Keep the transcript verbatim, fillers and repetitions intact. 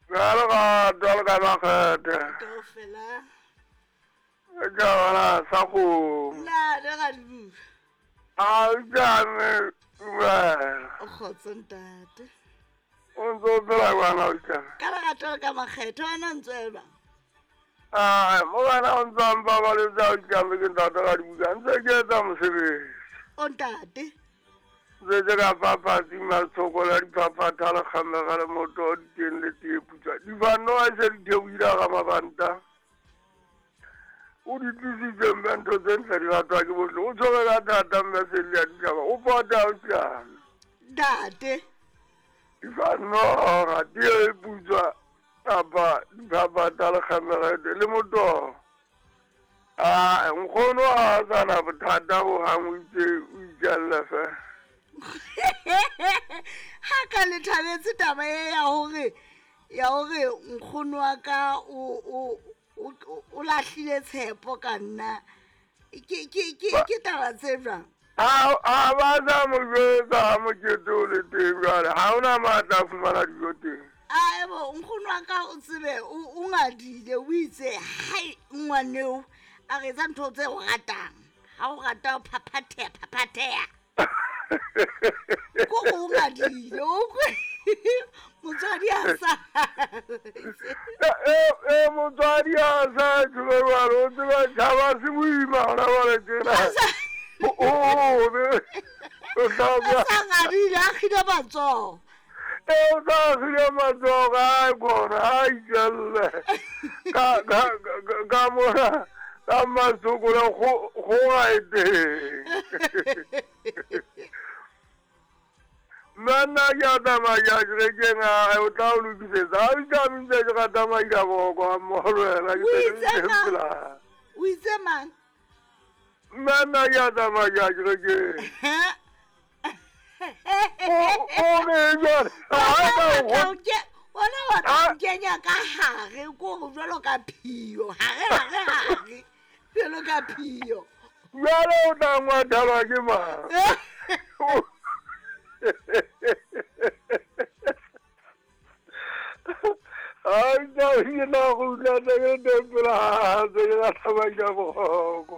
Ka lerato le ka makgethe. Kaofela. Ke bona sa kgomo. Ntate Radibuka. A o tjame dumela. O kgotso ntate. O ntse o phela jwang o tjame? Ka lerato le ka makgethe wena o ntse o jwang? Ai, mo wena o ntse a mpabaletse o tjame ke ntate Radibuka. Ntse ke etsa mosebetsi. O ntate. Ntse ke ka papatsi matshoko la diphaphatha le kgamega le moto diteng le tee putswa. Difano a se di theohile ga mabanta. O di tlisitse mme ntho tse ntle di ratwa ke bohle. O tshwere ka thata mme Selli a ditjhaba. O pota o tjame. Ntate. Difano ga tee putswa kapa diphaphatha le kgamega le moto. Ah, nkgono ha a sa na bothata ho hang o itse o itjalla fela. Ha ka le thabetse taba e ya hore ya hore nkgono wa ka o o o lahlile tshepo ka nna. Ke ke ke ke taba tse jwang? Ha ha ba sa mo jwetsa ha mokete o le teng jwale. Ha hona matla a fumana dijo teng. Aebo nkgono wa ka o tsebe o ngadile o itse hai ngwaneo a re etsa ntho tse o ratang. Ha o rata o phaphatheha phaphatheha. Ko o ngadile o motswadi a sa e e motswadi a sa tjho jwalo o tseba tjhaba se boima hona jwale tjena. O o be o tla ba sa ngadile a kgile matsoho. E o tla kgile matsoho a kgona a itjelle ka ka ka mona ka masokola go go ga e teng. Nna nna ke a tsamaya ke a kerekeng a o tla o lokisetsa. Ha o tjame ntse ke rata maila boko ha mmoho le wena ke O se itse ke mang? pela. O itse mang? Nna nna ke a tsamaya ke a kerekeng. O o re jwale ha Wena ka o o batla ho ke- wena o batla Ah. ho nkenya ka hare ko hore jwalo ka phio hare hare hare jwalo ka phio. Jwale o tla ngwathelwa ke mang? Ai, tla ke na go utlwa tse ke teng pela ha tse ke rata maila boko.